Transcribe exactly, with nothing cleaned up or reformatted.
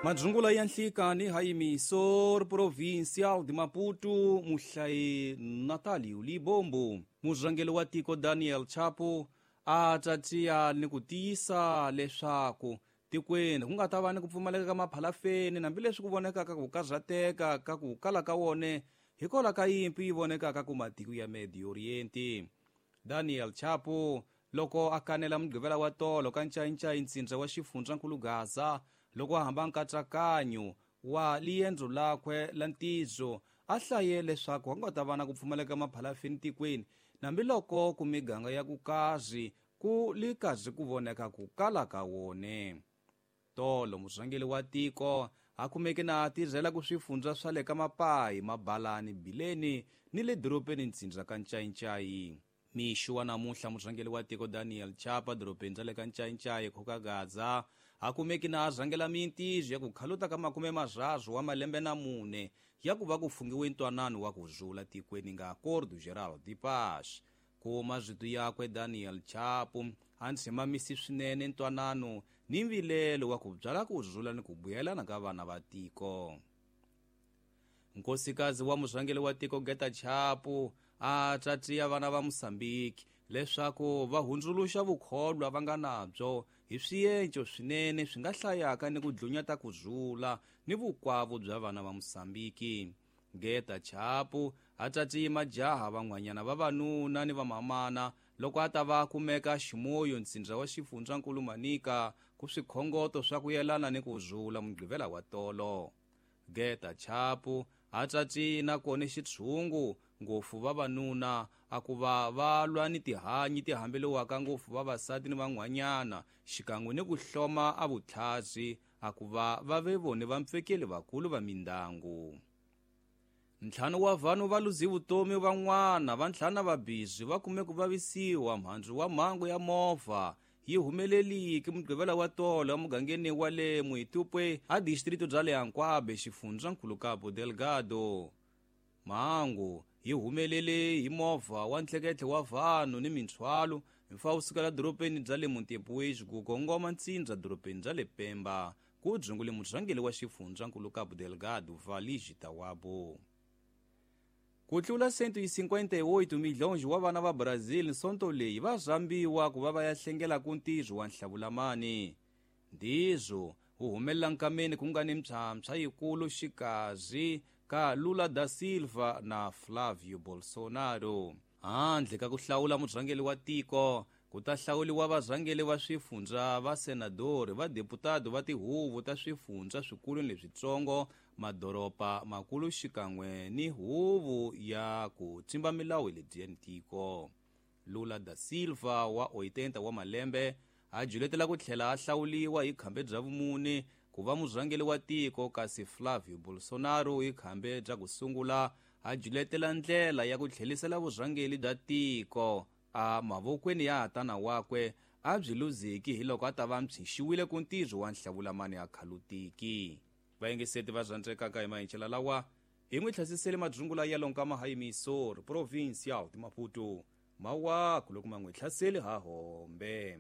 Madzungula ya nhlikani ha Provincial de Maputo, muhlayi Natalio Libombo. Murhangeri wa tiko Daniel Chapo a tatiya ni ku tiyisa leswaku tikweni ku nga ta va ni ku pfumaleka ka maphalafeni hambileswi ku vonekaka ku karhateka ka ku kala ka wone hikwalaho ka yimpi yi vonekaka ku matiko ya Medio Oriente. Daniel Chapo loko a kanela mugqivela wa tolo ka ncayincayi ntsindza wa xifundzankulu Gaza loko a hamba nkatsakanyo wa liendzo lakwe la ntizo a hlaye leswaku a nga ta va na ku pfumaleka maphalafeni tikweni hambiloko ku miganga ya ku kazi ku li kazi ku voneka ku kala ka wone. Tolo murhangeri wa tiko a kumeke na a tirhela ku swifundza swa le ka Mapayi, Mabalani, Bileni ni le dorobeni ntsindza ka Ncayincayi. Mixo wa namuntlha murhangeri wa tiko Daniel Chapo dorobeni ra le ka Ncayincayi Khoka Gaza a kumeki na a rhangela mintizo ya ku khaluta ka makume marharhu wa malembe na mune ya ku va ku fungiwe ntwanano wa ku zula tikweni nga Acordo Geral de Paz. Ku mazito yakwe Daniel Chapo a ntshemamisi swinene ntwanano ni mvilelo wa ku byala ku zula ni ku vuyelana ka vana va tiko. Nkosikazi wa murhangeri wa tiko Geta Chapo a tatiya vana va Mozambique leswaku va hundzuluxa vukholwa va nga nabyo hi swienco swinene swi nga hlayaka ni ku dlunyata ku zula ni vukwavo bya vana va Mozambique. Geta Chapo a tatiye majaha van'wanyana vavanuna ni vamamana loko a ta va kumeka ximoyo ntsindza wa xifundzankulu Manica ku swikhongoto swa ku yelana ni ku zula mugqivela wa tolo. Geta Chapo a tatiye nakona xitshungu ngopfu vavanuna a ku va va lwa ni tihanyi ti hambeliwaka ngopfu vavasati ni van'wanyana xikan'we ni ku hloma a vutlhasi a ku va va ve vone vampfekeli vakulu va mindyangu. Ntlhanu wa vanhu va luzi vutomi van'wana va ntlhanu va bizi va kume ku vavisiwa mhandzu wa mhangu ya movha yi humeleliki mugqivela wa tolo emugangeni wa le Muitupwe a distrito bya le Anquabe xifundzankulu Cabo Delgado. Mhangu yi humelele hi movha wa ntlheketlhe wa vanhu ni minthwalo mfa wu sukela dorobeni bya le Montepuez ku kongoma ntsindza dorobeni bya le Pemba ku dzungule murhangeri wa xifundzankulu Cabo Delgado Valigi Tawabo. Ku tlula cento e cinquenta e oito milhões wa vana va Brazil sonto leyi va rhambiwa ku va va ya hlengela ku ntirho wa nhlavulamani. Ntizo wu humelela nkameni ku nga ni mpshampsha yikulu xikazi ka Lula da Silva na Flavio Bolsonaro. Handle ka ku hlawula murhangeri wa tiko ku ta hlawuliwa varhangeri va swifundza va senadori va deputado va tihuvo ta swifundza swikulu ni leswitsongo madoroba makulu xikan'we ni huvo ya ku tsimba milawu lebyi tiko. Lula da Silva wa oitenta wa malembe a juletela ku tlhela a hlawuliwa hi khambe bya vumune ku va murhangeri wa tiko kasi Flavio Bolsonaro hi khambe bya ku sungula a juletela ndlela ya ku tlhelisela vurhangeri bya tiko a mavokweni ya tana wakwe a byi luziki hi loko a ta va mpshixiwile ku ntirho wa nhlavulamani a khalutiki. Vayingiseti va rhandzekaka hi mahincela lawa hi n'wi tlhasisele madzungula ya lonkama ha Emissor Provincial de Maputo mawaku loko ma n'wi hlaseli ha hombe.